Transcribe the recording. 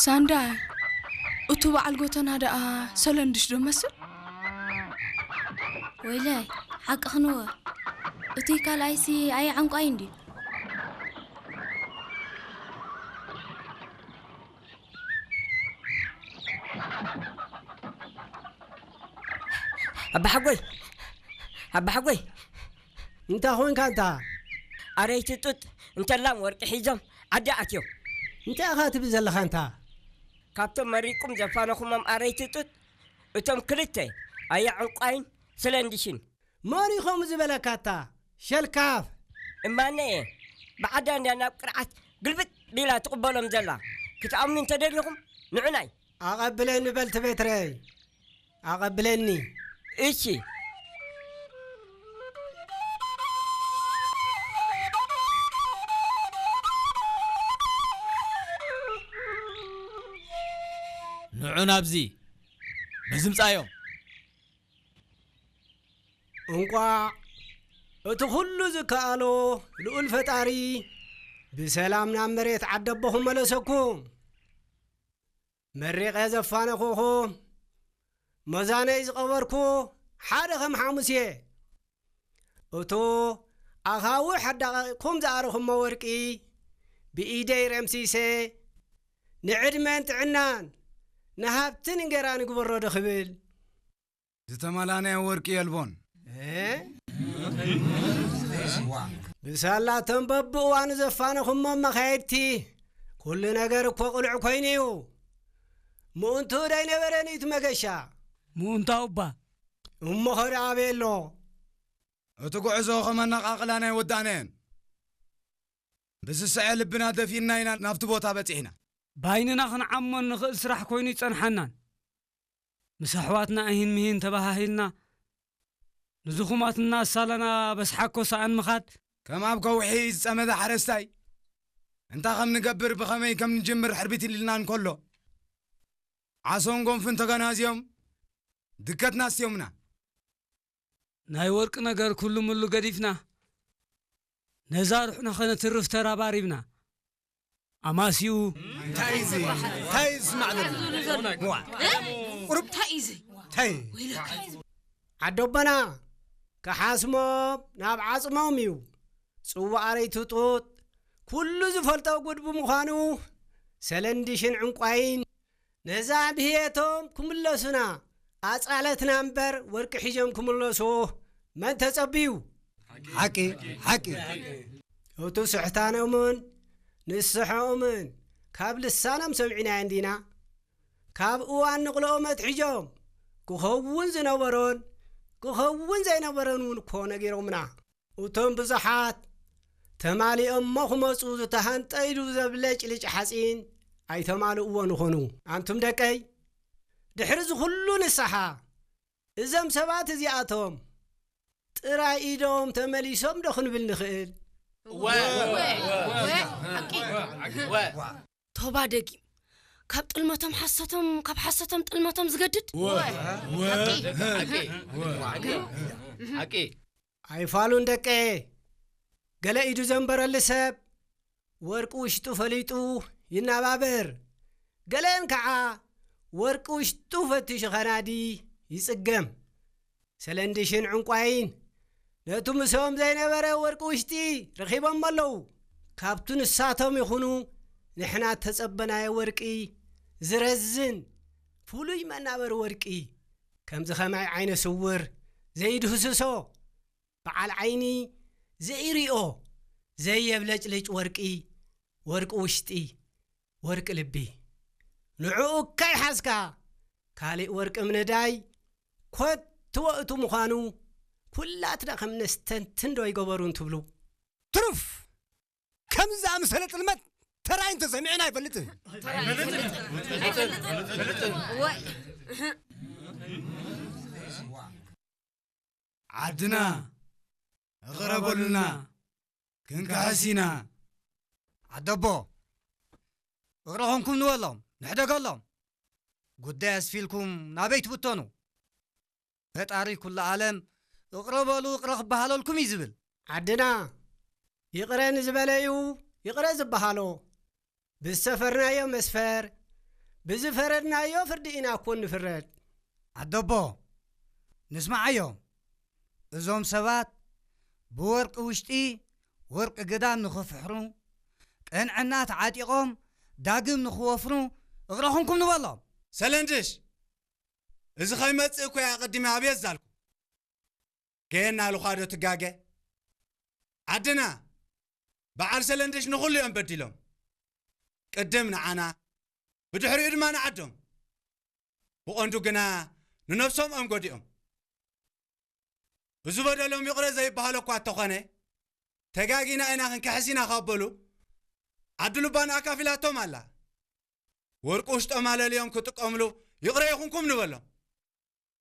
ሳንዳይ፣ እቱ በዓል ጎተና ደኣ ሰለንድሽ ዶ መስል? ወይለይ፣ ሓቅኽንወ። እቱይ ካልኣይሲ ኣየ ዕንቋይ እንድዩ። ኣባሓጎይ፣ ኣባሓጎይ፣ እንታይ ኾንካ እንታ? ኣረይቲ ጡጥ እንተላም ወርቂ ሒዞም ዓዲ ኣትዮም። እንታይ ኢኻ ትብል ዘለኻ እንታ? ካብቶም መሪቁም ዘፋነኹሞም ኣረይቲ ጡጥ እቶም ክልተ ኣያ ዕንቋይን ስለንድሽን። መን ኢኹም ዝበለካ እታ ሸልካፍ? እማነ እየ። ብዓዳ እንድያ ናብ ቅርዓት ግልብጥ ቢላ ትቕበሎም ዘላ። ክትኣምኑ እንተደሊኹም ንዑናይ። ኣቐብለኒ በል ትቤትረይ። ኣቐብለኒ። እሺ። ንዑ ናብዚ። በዚ ምጻዮም። እንቋዕ እቲ ኹሉ ዝከኣሎ ልኡል ፈጣሪ ብሰላም ናብ መሬት ዓደቦኹም መለሰኩም። መሪቐ ዘፋነኹኹ፣ መዛነይ ዝቐበርኩ ሓደ ከም ሓሙስ እየ። እቱ ኣኻውሕ ኣዳቒቕኩም ዝኣረኹሞ ወርቂ ብኢደይ ረምሲሰ፣ ንዕድመን ጥዕናን ንሃብትን እንጌራን ይግበሮ ዶ ክብል? ዝተመላነየ ወርቂ የልቦን። እ? ብሳላቶም በብእዋኑ ዘፋነኹሞም መኻየድቲ፣ ኩሉ ነገር እኮ ቅሉዕ ኮይኑ እዩ። ምኡንቱ ዶ ኣይነበረን እዩ እቲ መገሻ? ምኡንታው እባ። እሞ ኸ ደኣ ኣበይ ኣሎ? እቲ ጉዕዞ ኸም ኣነቓቕላና ኣይወዳእናዮን። ብስስዐ ልብና ደፊንና ኢና ናብቲ ቦታ በጺሕና። ባይንና ኽንዓሞ እንኽእል ስራሕ ኮይኑ ኣይጸንሓናን። ምስ ኣሕዋትና እሂን ምሂን ተባሃሂልና፣ ንዝኹማትና ኣሳለና በስሓኮ ሰኣን ምኻድ። ከም ኣብ ከውሒ ዝጸመደ ሓረስታይ፣ እንታይ ከም ንገብር፣ ብኸመይ ከም ንጅምር ሕርቢት ኢልና እንከሎ፣ ዓሶን ጎንፍን ተገናዝዮም ድከትና ኣስትዮምና። ናይ ወርቂ ነገር ኩሉ ምሉ ገዲፍና፣ ነዛ ሩሕና ኸነትርፍ ተራባሪብና። ኣማሲኡ እንታይ እዩ እዚ? እንታይ እዩ ዝስማዕ ዘሎ? ዋ። ቁሩብ እንታይ እዩ እዚ? እንታይ? ወይለካ። ዓዶቦና ክሓስሞም ናብ ዓጽሞም እዩ። ጽዋኣረይ ትጡጥ ኩሉ ዝፈልጦ ጉድ ብምዃኑ፣ ሰለንድሽን ዕንቋይን ነዛ ድህየቶም ክምለሱና ኣጻለትና እምበር፣ ወርቂ ሒዞም ክምለሱ መን ተጸብዩ? ሓቂ፣ ሓቂ። እቱ ስሕታኖምን ንስሐኦምን ካብ ልሳኖም ሰሚዕናዮ እንዲና። ካብ እዋን ንቕልኦም ኣትሒዞም ክኸውን ዝነበሮን ክኸውን ዘይነበሮን እውን እኮ ነጊሮምና። እቶም ብዙሓት ተማሊኦሞ ክመጹ ዝተሃንጠ ኢሉ ዘብለጭልጭ ሓጺን ኣይተማልእዎን ይኾኑ። ኣንቱም ደቀይ፣ ድሕሪ እዚ ኩሉ ንስሓ፣ እዞም ሰባት እዚኣቶም ጥራይ ኢዶም ተመሊሶም ዶ ክንብል ንኽእል? ወ-፣ ወ-፣ ወ-፣ ወ-፣ ሓቂ። ወ-፣ ቶባ ደጊም፣ ካብ ጥልመቶም ሓሰቶም፣ ካብ ሓሰቶም ጥልመቶም ዝገድድ። ወ-፣ ወ-፣ ሓቂ። ሓቂ። ሓቂ። ኣይፋሉን ደቀ፣ ገለ ኢዱ ዘንበረሉ ሰብ ወርቂ ውሽጡ ፈሊጡ ይናባበር፣ ገለን ከዓ ወርቂ ውሽጡ ፈቲሹ ኸናዲ ይጽገም። ሰለንድሽን ዕንቋይን ነቱ ምስኦም ዘይነበረ ወርቂ ውሽጢ ረኺቦም ኣለዉ። ካብቱ ንሳቶም ይኹኑ ንሕና እተጸበናዮ ወርቂ ዝረዝን ፍሉይ መናበሪ ወርቂ፣ ከምዚ ኸማይ ዓይነ ስውር ዘይድህስሶ፣ በዓል ዓይኒ ዘይርእዮ ዘየብለጭልጭ ወርቂ፣ ወርቂ ውሽጢ፣ ወርቂ ልቢ። ንዕኡ እካ ይሓዝካ፣ ካሊእ ወርቂ ምንዳይ ኮትዎ እቱ ምዃኑ ኩላትና ከም ነስተንትን ዶ ኣይገበሩን ትብሉ? ትሩፍ! ከምዚ ዝኣመሰለ ጥልመት ተራእዩ እንተሰሚዕና ኣይፈልጥን። ዓድና፣ እቕረ በሉልና፣ ክንክሕስ ኢና። ዓደቦ፣ እቕረ ኾንኩም ንበሎም፣ ንሕደገሎም። ጉዳይ ኣስፊልኩም ናበይ ትብተኑ? ፈጣሪ ኩሉ ዓለም እቕረ በሉ፣ እቕረ ክበሃለልኩም እዩ ዝብል። ዓድና፣ ይቕረ ንዝበለዩ ይቕረ ዝበሃሎ። ብዝሰፈርናዮ መስፈር፣ ብዝፈረድናዮ ፍርዲ ኢና እኮ ንፍረድ። ኣደቦ፣ ንስማዓዮም። እዞም ሰባት ብወርቂ ውሽጢ ወርቂ ግዳም ንኽፍሕሩ፣ ቅንዕና ተዓጢቖም ዳግም ንኽወፍሩ እቕረኹምኩም ንበሎም። ሰለንድሽ፣ እዚ ኸይመጽእ እኮ እያ ኣቐዲመ ኣብየት ዛልኩ። ገየና ልዃዶ ትጋገ? ዓድና፣ በዓል ሰለንድሽ ንኹሉ እዮም በዲሎም። ቅድም ንዓና፣ ብድሕሪኡ ድማ ንዓዶም። ብቐንዱ ግና ንነብሶም እዮም ጎዲኦም። እዚ በደሎም ይቕረ ዘይበሃሎ እኳ እንተኾነ፣ ተጋጊና ኢና ክንክሕስ ኢና ካብ በሉ፣ ዓዲ ልባን ኣካፊላቶም ኣላ። ወርቂ ውሽጦም ኣለልዮም ክጥቀምሉ ይቕረ ይኹንኩም ንበሎም።